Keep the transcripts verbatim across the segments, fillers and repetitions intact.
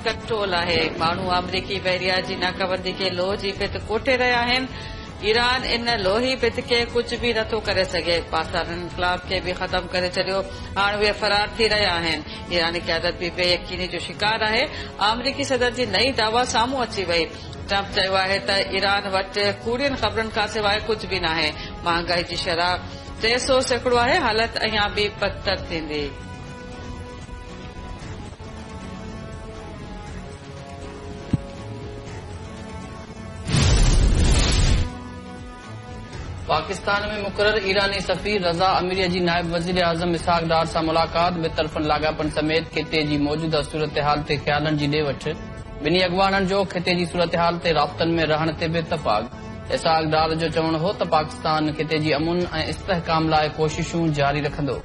Control آهي. ماڻهو آمريڪي بحريا جي ناڪابندي کي لوهه جي ڀت ڪوٺي رهيا آهن. ايران ان لوهي ڀت کي ڪجهه به نٿو ڪري سگهي. پاسداران انقلاب کي به ختم ڪري ڇڏيو، هاڻ اهي فرار ٿي رهيا آهن. ايراني قيادت به بي يقيني جو شڪار آهي. آمريڪي صدر جي نئين دعويٰ سامهون اچي وئي. ٽرمپ چيو آهي ته ايران وٽ ڪوڙين خبرن کان سواء ڪجهه به ناهي. مهانگائي جي شرح ٽي سؤ سيڪڙو آهي، حالت اڃا به بدتر ٿيندي. पाकिस्तान में मुक़रर ईरानी सफ़ीर रज़ा अमीरी जी नायब वज़ीर आज़म इसहाक डार सां मुलाक़ात। ॿितरफ़नि लाॻापनि समेत ख़िते जी मौजूदा सूरत हाल ते ख़्यालनि जी ॾे वठ। ॿिन्ही अॻवाननि जो ख़िते जी सूरत हाल ते राब्तनि में रहण ते बि इतफ़ाक़। इसहाक डार जो चवणु हो त पाकिस्तान ख़िते जी अमुन ऐं इस्तिहकाम लाइ कोशिशूं जारी रखंदो।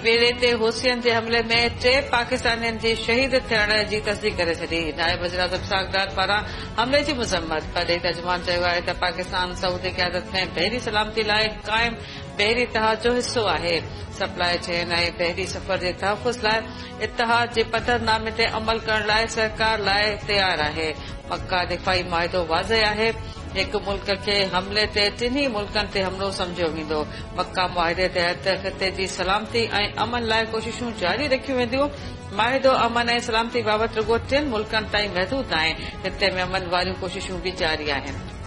बेड़े ते हुसियन जे हमले में टे पाकिस्तानियुनि जी शहीद थियण जी तस्दीक करे छॾी। नायब वज़ीर आज़म इसहाक डार पारां हमले जी मज़म्मत। परॾेही तर्जुमान चयो आहे त पाकिस्तान सऊदी क़यादत में बहरी सलामती लाइ क़ाइम बहरी इतिहाद जो हिसो आहे। सप्लाई चेन ऐं बहरी सफ़र जे तहफ़ुज़ लाइ इतिहाद जे पधरनामे ते अमल करण लाइ सरकार लाइ तयार आहे। मक्का दिफ़ाई मुआहिदो वाज़ेह आहे। हिकु मुल्क खे हमले ते टिन्ही मुल्कनि ते हमलो सम्झियो वेंदो। मक्का मुआहिदे तहत ख़िते जी सलामती ऐं अमन लाइ कोशिशूं जारी रखियूं वेंदियूं। मुआहिदो अमन ऐं सलामती बाबति रुगो टिनि मुल्कनि ताईं महदूद नाहे, ख़िते में अमन वारियूं कोशिशूं बि जारी आहिनि।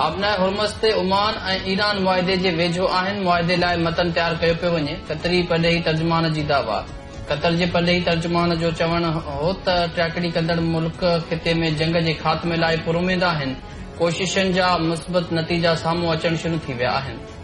आबनाए हुर्मज़ ते ओमान ऐं ईरान मुआहिदे जे वेझो आहिनि। मुआहिदे लाइ मतन तयार कयो पियो वञे। क़तरी परॾेही तर्जुमान जी दावा। क़तर जे परॾेही तर्जुमान जो चवणु हो त टाकड़ी कंदड़ मुल्क ख़िते में जंग जे ख़ात्मे लाइ पुरउमेद आहिनि। कोशिशनि जा मुस्बत नतीजा साम्हूं अचणु शुरू थी विया आहिनि।